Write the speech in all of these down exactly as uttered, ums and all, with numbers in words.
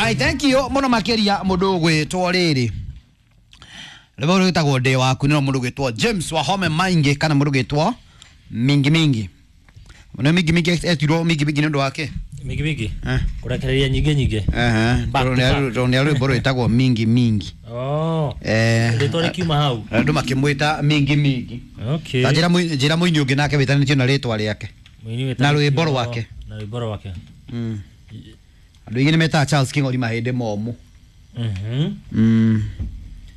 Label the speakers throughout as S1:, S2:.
S1: Right, thank you muno makiria mundu gwitwo riri. Rwimbo rwitagwo Ndĩ Waku nĩ mundu gwitwo James Wahome Maingi kana mundu gwitwo Mingi Mingi. Nĩ Mingi Mingi etirwo Mingi Mingi nĩ ũndũ wake.
S2: Mingi Mingi.
S1: Eh.
S2: Kurekereria nyingĩ nyingĩ.
S1: Ehe.
S2: Back to back.
S1: Tondũ nĩ rwimbo rwitagwo Mingi Mingi.
S2: Oh.
S1: Eh.
S2: Rĩtwa rĩkiuma hau.
S1: Andũ makĩmwĩta Mingi Mingi.
S2: Okay.
S1: Ta njĩra mũini njĩra mũini ũngĩ nake wĩtanĩtio na rĩtwa rĩake.
S2: Mũini wĩtanĩtio
S1: Na rwĩmbo rwake.
S2: Na rwĩmbo rwake.
S1: Mm. Andũ aingĩ nĩ metaga Charles King'ori mahĩndĩ momũ.
S2: Mhm.
S1: Mm.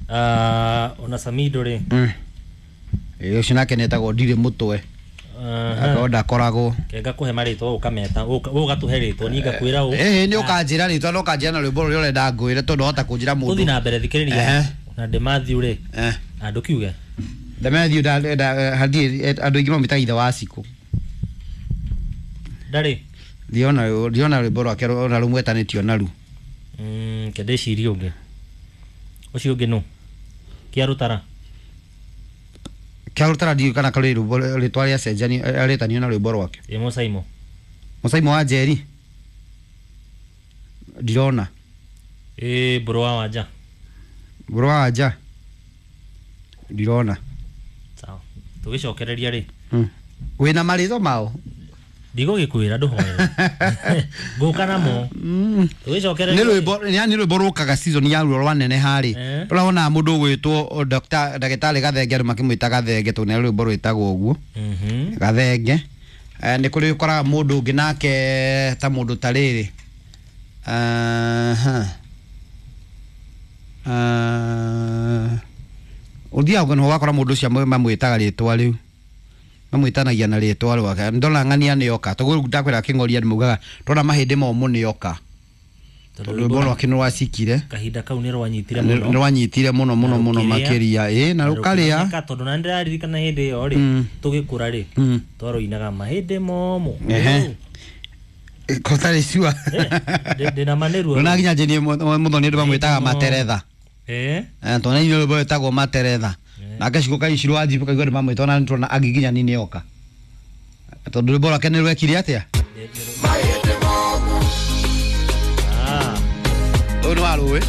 S2: Ah, ona Samido rĩ.
S1: Mm. Ĩ ũcio nake nĩetagwo Ndirĩ Mũtwe.
S2: Aha.
S1: Akorwo ndakoragwo.
S2: Kenga kũhe marĩtwa ũkameta ũgatũhe rĩtwa niĩ ngakwĩra ũ.
S1: Ĩhĩ nĩ ũkanjĩra rĩtwa na ũkanjĩra na rwĩmbo rũrĩa ũrenda ngwĩre tondũ wahota kũnjĩra
S2: Tũthiĩ
S1: mũndũ.
S2: na mbere thikĩrĩria.
S1: Ehe.
S2: Na ndĩ Matthew rĩ.
S1: Eh.
S2: Na ndũkiuge.
S1: Demethiũ nda nda hathiĩ andũ aingĩ mamwĩtaga ithe wa Cikũ.
S2: Ndarĩ.
S1: Ndiona ndiona rwĩmbo rwake ona rũmwetanĩtio naru.
S2: Mm, ke ndĩcirie ũngĩ. Ũcio ũngĩ nũ? Kĩa Rũtara.
S1: Kĩa Rũtara ndiũĩ kana karĩ rwĩmbo rĩtwa rĩacenjanio rĩtanio na rwĩmbo rwake.
S2: Ĩ Mũcaimo.
S1: Mũcaimo wa Njeri. Ndirona.
S2: Ĩ Mbũrũ wa Wanja.
S1: Mbũrũ wa Wanja. Ndirona.
S2: Sawa. Tũgĩcokereria rĩ.
S1: Mm. Wĩna marĩtwa mao?
S2: Ndigũgĩkwĩra ndũhoere. Ngũka namo.
S1: Mm.
S2: Tũgĩcokereria.
S1: Nĩ rwĩmbo yani rwĩmbo rũkaga season ya ruo rwa neneha rĩ.
S2: Eh.
S1: Ũrona mũndũ ũgwĩtwo Dr. Ndagĩtarĩ Gathenge andũ makĩmwĩta Gathenge tondũ nĩ rwĩmbo rwĩtagwo ũguo.
S2: Mhm.
S1: Gathenge. Eh, nĩ kũrĩ ũkoraga mũndũ ũngĩ nake ta mũndũ ta rĩrĩ. Aha. Ah. Ũthiaga ũguo ũgakora mũndũ ũcio mamwĩtaga rĩtwa rĩu. Mamwĩtanagia na rĩtwa rwake. Ndona ng'ania nĩ oka. Tondũ ndakwĩra Kĩng'oria nĩ maugaga ndona mahĩndĩ momũ nĩ oka. Tondũ rwĩmbo rwake nĩ rwacikire.
S2: Kahinda kau nĩ rwanyitire
S1: Nĩ
S2: mũno.
S1: rwanyitire mũno mũno
S2: Na
S1: mũno
S2: rũkĩrĩa.
S1: makĩria. Ĩ na rũkarĩa.
S2: Rũkĩmenyeka tondũ na nĩndĩraririkana hĩndĩ ĩyo rĩ
S1: Mm.
S2: tũgĩkũra rĩ
S1: Mm.
S2: twarũinaga mahĩndĩ momũ.
S1: Ehe. Kotarĩ cua.
S2: Eh, ndĩ- ndĩna ma nĩ ruo.
S1: Ndona nginya njenie mũthoni andũ mamwĩtaga
S2: Mahĩndĩ momũ.
S1: materetha.
S2: Eh.
S1: Eh, tondũ nĩ rwĩmbo rwĩtagwo materetha.
S2: Eh.
S1: Nake Cikũ Kaicirũ wa Njibũ kaigua andũ mamwĩta ona nĩtũrona agiginyani nĩ oka. Tondũ rwĩmbo rwake nĩ rwekire atĩa?
S2: Ndĩ- ndĩ- Ah.
S1: Ũyũ nĩ wa rũĩ.